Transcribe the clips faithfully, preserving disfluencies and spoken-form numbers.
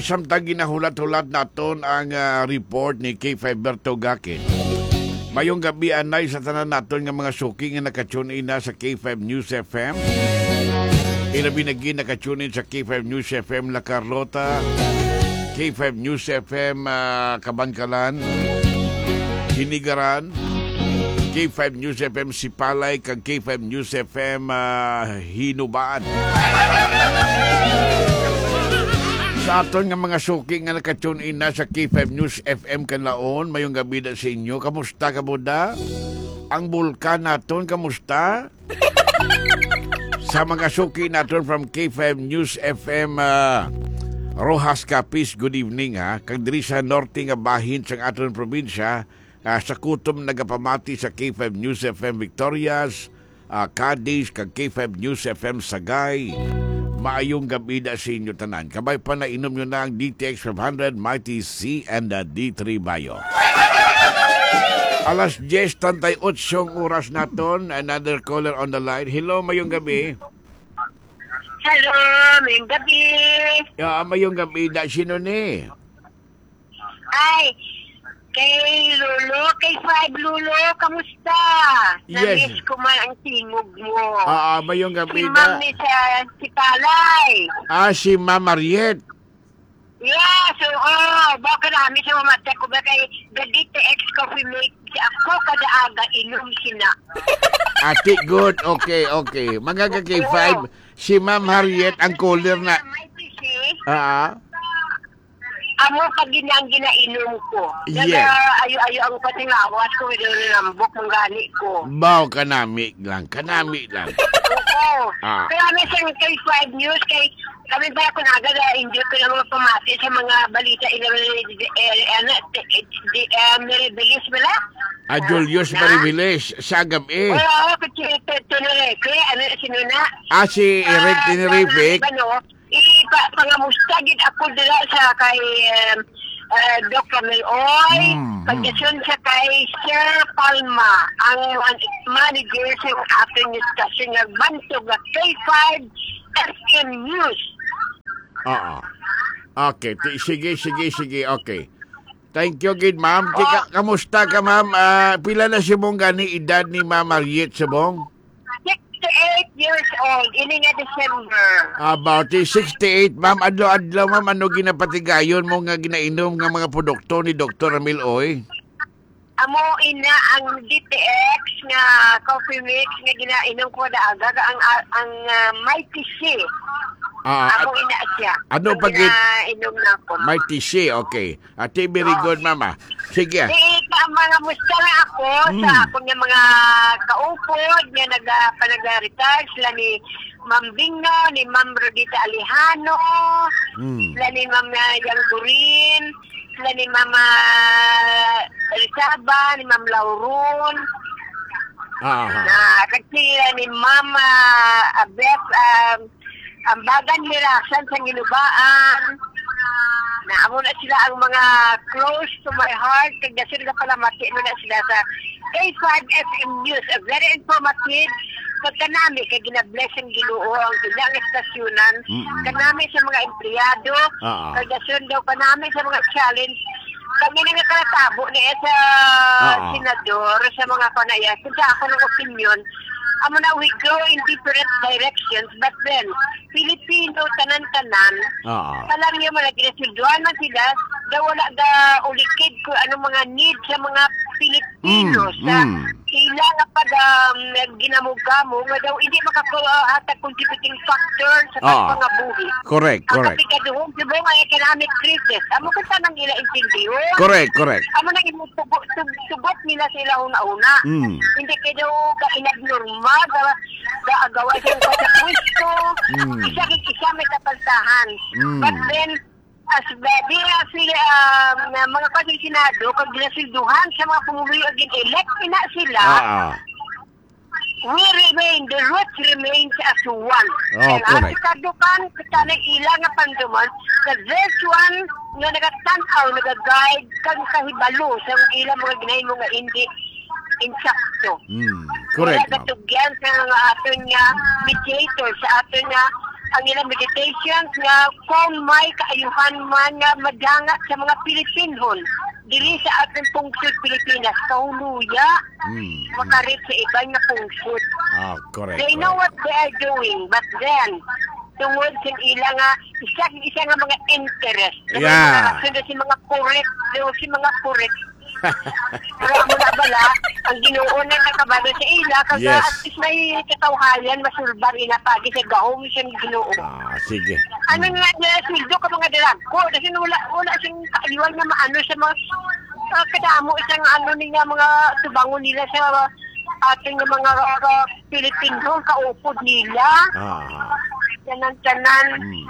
Samtang ginahulat-hulat naton ang, ah, report ni K five Berto Gakin. Mayong gabi anay sa tanan naton nga mga suki nga naka-tune in na sa K five News F M. Ilabi na gid naka-tune in sa K five News F M La Carlota, K five News F M, ah, Kabankalan, Hinigaran, K five News F M Sipalay, kag K five News F M, ah, Hinubaan. Sa aton nga mga suki nga naka-tune in na sa K five News F M Kanlaon, mayong gabi da sa inyo. Kamusta, kamuda? Ang bulkan naton, kamusta? Sa mga suki naton from K five News F M, ah, Roxas, Capiz, good evening, ha. Kag diri sa norte nga bahin sang aton probinsya, ah, sa kutom nagapamati sa K five News F M Victorias, ah, Cadiz, kag K five News F M Sagay. Maayong gabi da sa inyo tanan. Kabay pa, nainom nyo na ang D T X five hundred, Mighty C, and the D three Bayo. Alas diyes treinta y ocho ang oras naton. Another caller on the line. Hello, mayong gabi. Hello, mayong gabi. Ya, mayong gabi da. Sino ni? Ay, kay Lolo, kay Five Lolo, kamusta? Yes. Na-miss ko man ang tingog mo. Ah, ah, mayong gabi, Si Ma'am da. Ni sa, si Palay. Ah, si Ma'am Mariet. Yes, oo. Baka namin sa mamata ko ba kay the D T X Coffee Mix. Ako kada aga inom sina. Ati, good. Okay, okay. Mga ka-K five, Oo. Si Ma'am Harriet ang caller na. May P C. Ah. Amo pa gid ang ginainom ko. Yes. Nag-ayo-ayo ang patingawas ko, medyo nalambok ang gani ko. Baw, kanami lang, kanami lang. Oo. Ah. Kaya may isang K five News, kay kami ba ako naga, enjoy ko lang mga pamati sa mga balita ila, eh, eh, ano, eh, di, eh, Mary Beliz, wala? Ah, Julius Na? Mariviles, sa gabi. Oo, kasi ito, ito na eh. Kaya ano, sino na? Ah, si Eric Ah, Tenerife. Ano, ipa-, pangamusta gid ako dira sa kay, um, uh, Doc Camel Oy, Mm, mm. Pagdason sa kay Sir Palma, ang, ang manager sa ating istasyon nga bantog nga K five F M News. Oo. Okay, ti-, sige, sige, sige, okay. Thank you gid, ma'am. Ti-, ka-, Oh. Kamusta ka, ma'am? Ah, pila na si mong gani edad ni Ma'am Mariet subong? Sixty-eight years old, ini nga December. About sixty-eight, ma'am. Adlaw-adlaw, ma'am, ano ginapatigayon mo nga ginainom nga mga produkto ni Doktor Ramil Oy? Amo ina ang D T X nga coffee mix nga ginainom ko na aga, ang, ang, ah, Mighty C. Ah, Amo at-, ina siya. Ano Ang pag-, ginainom na ako. Mighty C, okay. Ate, very Oh. good, mama. Sige. Di, ka, mga musta na ako sa Mm. akong nga mga kaupod nga naga-, panag-retire, sila ni Ma'am Bingo, ni Ma'am Rodita Alejano, Mm. sila ni Ma'am, ah, Yang Gurin, sila ni Mama Rizaba, ni Ma'am Lauron. Ah, ah. Na, kag sila ni Mama, ah, Beth, um, ang bagan ni Rasan sa Ginubaan. Na amo na sila ang mga close to my heart. Kag dason nga palamati mo na sila sa K five F M News. A very informative. Pagkanami kay ginabless ang Ginoo ang ilang estasyonan. Mm-mm. Kanami sa mga empleyado. Ah, ah. Kag dason daw kanami sa mga challenge. Kami na nga kalatabo ni sa Ah, ah. Senador, sa mga panayas. Kung sa ako ng opinion, amo na we go in different directions, but then, Filipino, tanan-tanan, Oo. Alam niyo, mga ginasilduhan man sila, daw wala ga ulikid kung anong mga need sa mga Pilipino Mm, sa mm. ila nga pag, um, ginamugamo, nga daw hindi makakuha hatag contributing factor sa Oo. Pagpangabuhi. Correct, Ang correct. Kapikaduhon, di ba, nga economic crisis. Amo ka sa nang ila intindihon. Correct, correct. Amo nang imo tubo-, tug-, tugot nila sa ila una-una. Mm. Hindi kay daw ka inabnormal, ga-, gaagawa sa iyang pagkakristo. Mm. Isa kay isa may kapaltahan. Mm. But then, as the, di na sila, um, na mga kasinsinado, kag ginasilduhan sa mga pumuluyo, gin-elect na sila. Ah, ah. We remain, the roots remains as one. Oh, And correct. Ang kadukan, kita na ila nga panduman, the first one nga nagatan-aw, nag-guide, kag kahibalo sa ilang mga ginahimo nga hindi insakto. Mm, correct, Kaya ma'am. Katugyan sa mga aton nga mediator, sa aton nga ang ilang meditation nga kung may kaayuhan man nga madangat sa mga Pilipinhon diri sa aton pungsod Pilipinas, kahuluya, Mm. makarit sa iban nga pungsod. Ah, correct, They know correct. what they are doing, but then, tungod sa ila nga isa, isa nga mga interest, Yeah. mga rason sa mga correct, sa mga correct, Pero amo na bala, ang Ginoo na nakabalo sa ila, kag Yes. at least may katawhayan, masulbar ina pagi sa gahom sa Ginoo. Ah, sige. Ano nga na sweldo ka mga dalagko, kasi wala, wala siyang kaayuhan nga maano sa mga, ah, kadamo isang ano niya, mga tubangon nila sa ating mga, ah, Pilipino, kaupod nila. Ah. Tanan-tanan. Hmm.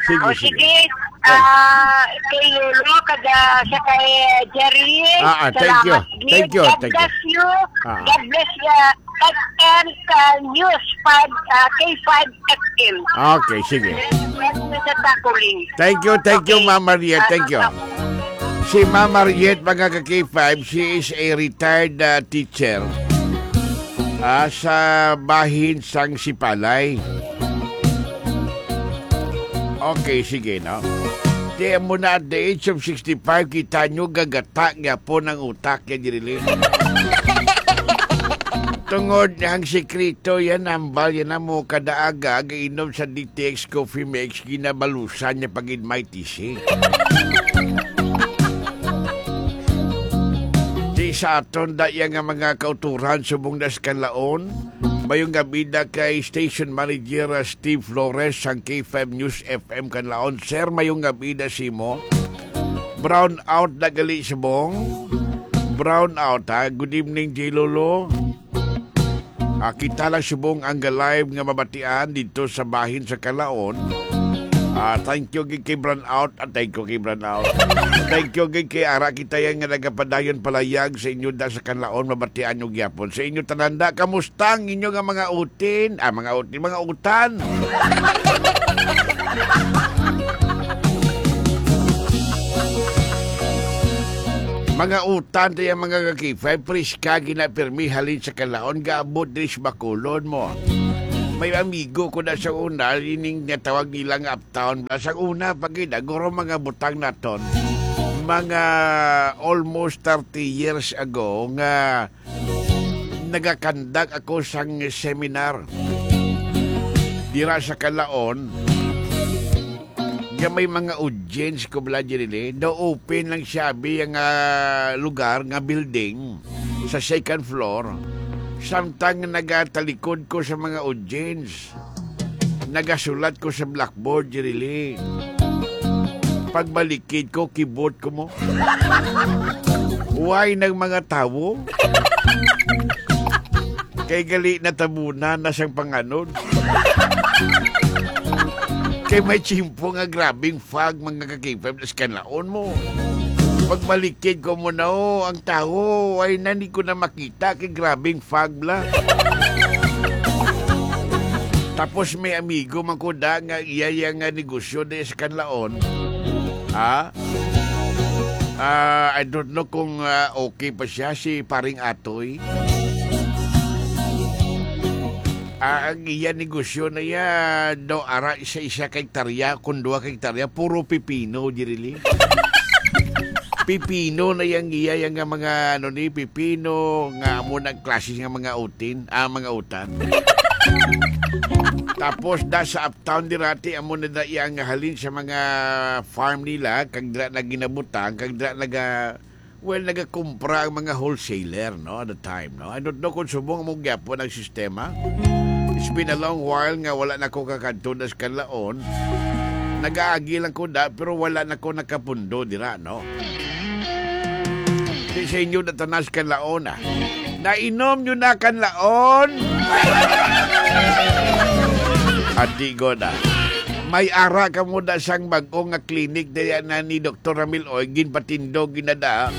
Sige, O, sige. sige. Eh. Ah, kay Lolo, kada sa kay Jerry, Ah, ah, thank you. salamat gid. Thank you, God thank you. bless you. Ah. God bless, ah, F M ka News five, ah, K five F M. Okay, sige. Sa Takuling. Thank you, thank you, Okay. Ma'am Mariette. Ah, Thank you. ah, Si Ma'am Mariette, mga ka-K five, she is a retired, ah, teacher. Ah, sa bahin sang Sipalay. Okay, sige, no? Di mo na at the age of sixty-five, kita nyo gagata gyapon ang utak niya, diri. Tungod ang sikreto yan, hambal yan na mo kada aga, gainom sa D T X Coffee Mix, ginabalusan niya pag-in may tisi. Di sa aton, daya nga mga kauturan, subong na sa Kanlaon. Mayong gabi na kay Station Manager, uh, Steve Flores, sang K five News F M Kanlaon. Sir, mayong gabi na simo. Brown out na gali, subong. Brown out, ha? Good evening, J Lolo. Ah, kita lang subong ang live nga mabatian dito sa bahin sa Kalaon. Ah, thank you gid kay Brown Out. Ah, thank you kay Brown Out. Thank you gid kay ara kita yan nga nagapadayon palayag sa inyo da sa Kalaon, mabatian nyo gyapon. Sa inyo tanan da, kamusta ang inyo nga mga utin? Ah, mga utin, mga utan. Mga utan, tayo mga ka-K five, priska, ginapirmi, halin sa Kalaon, gaabot diri sa Bacolod mo. May amigo ko na sa una, ining nga tawag nila nga uptown. Sa una, pag guro mga butang naton, mga almost thirty years ago, nga nagakandak ako sang seminar dira sa Kalaon, nga may mga audience ko bala diri, eh. Na-open lang siya, abi, ang, ah, lugar nga building sa second floor. Samtang nagatalikod ko sa mga audience, nagasulat ko sa blackboard, Jirili. Pagbalikid ko, kibot ko mo. Why nang mga tawo? Kay gali natabunan na sang panganod. Kay may tiyempo nga grabing fog, mga ka-K five, nas kanlaon mo. Pagbalikid ko mo na, oh, ang tawo, ay nani ko na makita, kay grabing fog la. Tapos may amigo man ko da nga iya, iya nga negosyo di sa kanlaon. Ha? Ah, I don't know kung, ah, okay pa siya, si Paring Atoy. Ah, ang iya negosyo na iya, daw ara isa-isa ka hektarya, kung duha ka hektarya, puro pipino, Jirili. Pipino na yang iya, yang nga mga, ano ni, pipino, nga amo nang klase nga mga utin, ah, mga utan. Tapos, da sa uptown dirati, amo na da iya nga halin sa mga farm nila, kag dira na ginabutang, kag dira naga, well, nagakumpra ang mga wholesaler, no, at the time, no? I don't know kung subong mo gyapon ang sistema. It's been a long while nga wala na ko kakadto na sa kanlaon. Nagaagi lang ko da, pero wala na ko nakapundo dira, no? Di sa inyo natanas kanlaon, ah. Nainom nyo na kanlaon? Ati ko na. May ara kamo da sang bag-o nga clinic daya na ni Doktor Ramil Oy, ginpatindog ginada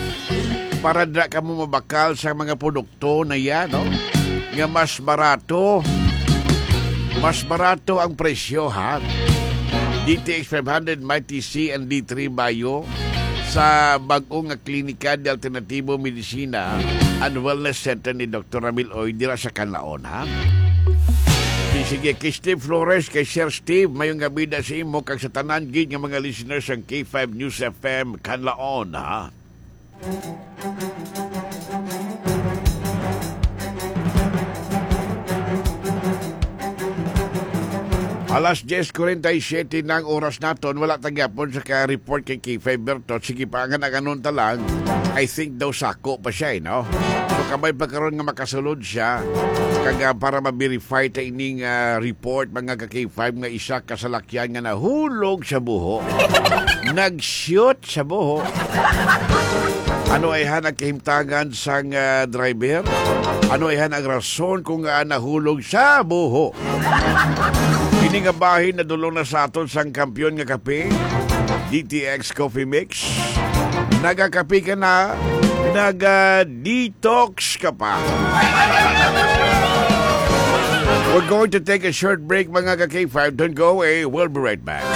para da kamo mabakal sa mga produkto na yan, no? Nga mas barato. Mas barato ang presyo, ha? D T X five hundred, Mighty C and D three Bayo sa bag-o nga Klinika de Alternatibo Medicina and Wellness Center ni Doktor Ramil Oy dira sa Canlaon, ha? Di Sige, kay Steve Flores, kay Sir Steve, mayong gabi na sa imo kag sa tanan gid nga mga listeners sang K five News F M Kanlaon, ha? Alas diyes kuwarenta y siyete na ang oras naton, wala ta gyapon sa ka-report kay K five Berto. Sige pa, nga naganon ta lang. I think daw sako pa siya, eh, no? So, kabay pa karon nga makasulod siya. Kag, ah, para ma-verify ta ining, ah, report, mga ka-K five, nga isa ka salakyan nga nahulog sa buho. Nag-shoot sa buho. Ano ay ha nagkahimtangan sang, ah, driver? Ano ay ha ang rason kung, ah, nahulog sa buho? Ini nga bahin nadulong na sa aton sang kampiyon nga kape, D T X Coffee Mix. Nagakape ka na, naga-detox ka pa. We're going to take a short break, mga ka-K five. Don't go away. We'll be right back.